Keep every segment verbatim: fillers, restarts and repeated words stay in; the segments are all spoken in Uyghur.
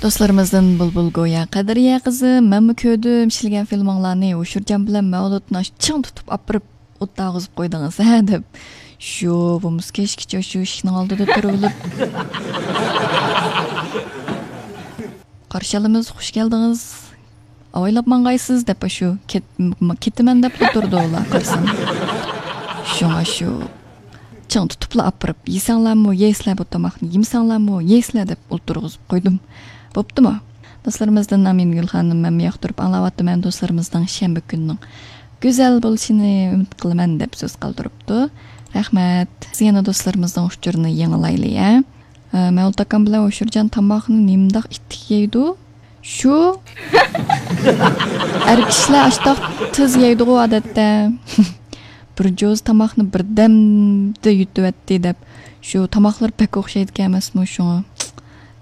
دوستلىرىمىزدىن بۇلبۇل گويا قەدرىيە قىزى، مەنمۇ كۆردۈم ئىشلىگەن فىلمىڭلارنى، ھوشۇرجان بىلەن مەۋلۇتنى چىڭ تۇتۇپ ئاپىرىپ ئوتتاغۇزۇپ قويدىڭىز ھە دەپ. شۇ بولمىسا كەچكىچە شۇ ئىشىكنىڭ ئالدىدا تۇرۇۋېلىپ، قارشى ئالىمىز، خۇش كەلدىڭىز، ئاۋايلاپ ماڭغايسىز دەپ شۇ كەتمەن دەپلا تۇرىدۇ ئۇلار قارىسام. شۇڭا شۇ چىڭ تۇتۇپلا ئاپىرىپ، يېسەڭلارمۇ يەيسىلەر، بۇ تاماقنى يېمىسەڭلارمۇ يەيسىلەر دەپ ئولتۇرغۇزۇپ قويدۇم. بوپتۇمۇ؟ دوستلىرىمىزدىن ئامىنگۈل خانىم، مەنمۇ ياقتۇرۇپ ئاڭلاۋاتىمەن، دوستلىرىمىزنىڭ شەنبە كۈنىنىڭ گۈزەل بولۇشىنى ئۈمىد قىلىمەن دەپ سۆز قالدۇرۇپتۇ. رەھمەت. بىز يەنە دوستلىرىمىزنىڭ ئۇچۇرىنى يېڭىلايلى ھە. ئە، مەۋلۇت ئاكام بىلەن ھوشۇرجان تاماقنى نېمىنداق ئىتتىك يەيدۇ؟ شۇ ئەر كىشىلەر ئاشتاق تېز يەيدىغۇ ئادەتتە. بىر جوز تاماقنى بىردەمدە يۇتۇۋەتتى دەپ، شۇ تاماقلىرى بەك ئوخشايدىكەن ئەمەسمۇ شۇڭا.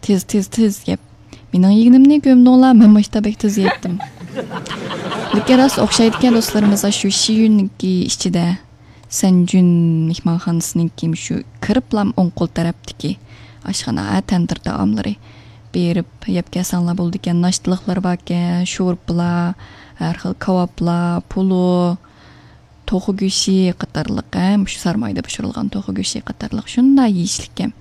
تېز، تېز، تېز يەپ. مېنىڭ يېگىنىمنى كۆمدۈڭلار، مەن مۇشتا بەك تېز يەيتتىم. لېكىن راست ئوخشايدىكەن دوستلىرىمىزغا شۇ شىيۈننىڭكى ئىچىدە. سەنجۈن مېھمانخانىسىنىڭكى مۇشۇ كىرىپلام ئوڭ قول تەرەپتىكى ئاشخانا، تەندۇر تائاملىرى. بېرىپ يەپ كەلسەڭلار بولىدىكەن، ناشتىلىقلىرى باركەن، شورپىلار، ھەر خىل كاۋاپلار، پولۇ، توخۇ گۆشى قاتارلىق، ھە، مۇشۇ سارمايدا پىشۇرۇلغان توخۇ گۆشى قاتارلىق شۇنداق يېيىشلىككەن.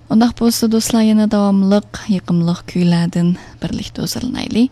ئۇنداق بولسا دوستلار، يەنە داۋاملىق يېقىملىق كۈيلەردىن بىرلىكتە ھۇزۇرلىنايلى.